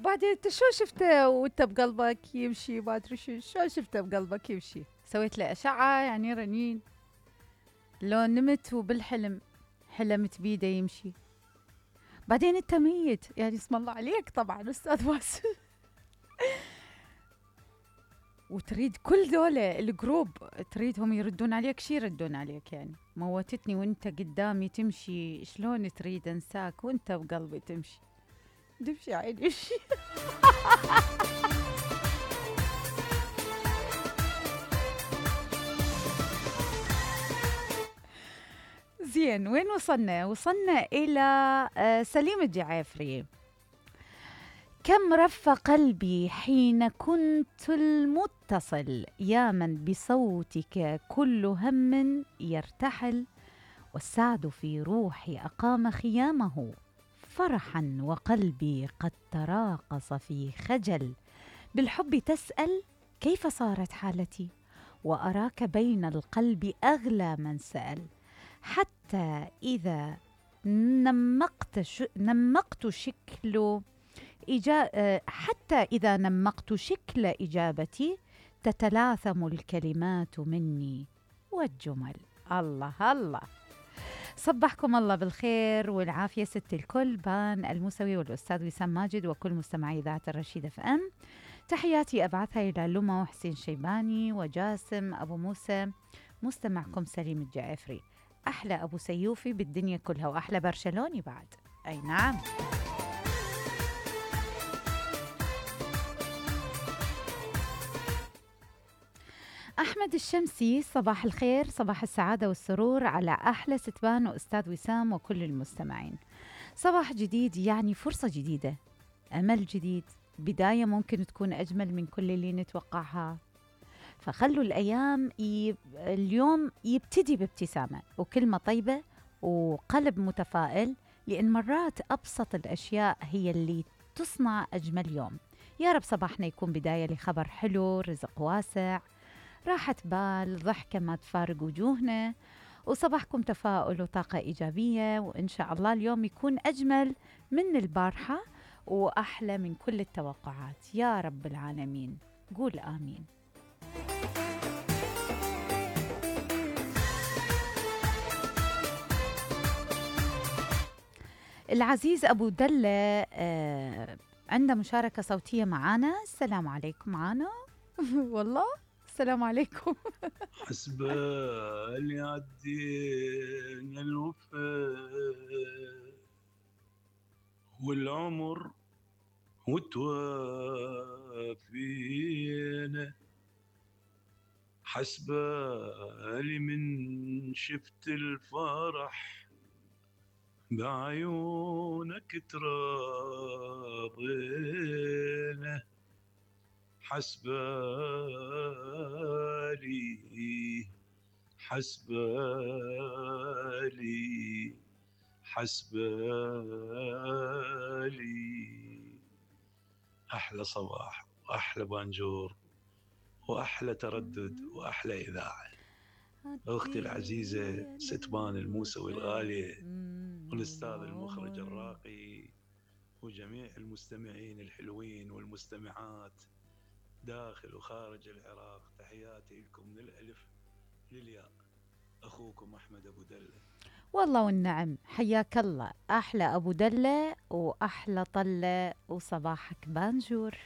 وبعدين انت شو شفته وانت بقلبك يمشي ما ادري شو شفته بقلبك يمشي؟ سويت له اشعه يعني رنين؟ لو نمت وبالحلم حلمت بيده يمشي؟ بعدين انت ميت يعني اسم الله عليك طبعا استاذ واسل. وتريد كل ذولا الجروب تريدهم يردون عليك، شي يردون عليك يعني؟ موتتني وانت قدامي تمشي، شلون تريد انساك وانت بقلبي تمشي؟ تمشي عيني امشي. زين وين وصلنا؟ وصلنا إلى سليم الجعافري. كم رف قلبي حين كنت المتصل، يا من بصوتك كل هم يرتحل، والسعد في روحي أقام خيامه فرحا، وقلبي قد تراقص في خجل. بالحب تسأل كيف صارت حالتي، وأراك بين القلب أغلى من سأل. حتى إذا نمقت شكل إجابتي تتلاثم الكلمات مني والجمل. الله الله. صبحكم الله بالخير والعافية ست الكل، بان الموسوي والأستاذ وسام ماجد وكل مستمعي إذاعة الرشيد FM. تحياتي أبعثها إلى لما وحسين شيباني وجاسم أبو موسى، مستمعكم سليم الجعافري. أحلى أبو سيوفي بالدنيا كلها، وأحلى برشلوني بعد. أي نعم. أحمد الشمسي، صباح الخير، صباح السعادة والسرور على أحلى ستبان وأستاذ وسام وكل المستمعين. صباح جديد يعني فرصة جديدة، أمل جديد، بداية ممكن تكون أجمل من كل اللي نتوقعها. فخلوا اليوم يبتدي بابتسامة وكلمة طيبة وقلب متفائل، لأن مرات أبسط الأشياء هي اللي تصنع أجمل يوم. يا رب صباحنا يكون بداية لخبر حلو، رزق واسع، راحة بال، ضحكة ما تفارق وجوهنا، وصباحكم تفاؤل وطاقة إيجابية، وإن شاء الله اليوم يكون أجمل من البارحة وأحلى من كل التوقعات يا رب العالمين. قول آمين. العزيز أبو دلة عنده مشاركة صوتية معانا. السلام عليكم معانا. والله السلام عليكم. حسب اللي عدينا الوفا والعمر وتوافينا، حسب اللي من شفت الفرح بعيونك تراضينا، حسبالي أحلى صباح وأحلى بانجور وأحلى تردد وأحلى إذاعة. أختي العزيزة ستبان الموسوي الغالية، والأستاذ المخرج الراقي، وجميع المستمعين الحلوين والمستمعات داخل وخارج العراق، تحياتي لكم من الألف للياء. أخوكم أحمد أبو دلة. والله والنعم، حياك الله أحلى أبو دلة وأحلى طلة، وصباحك بانجور.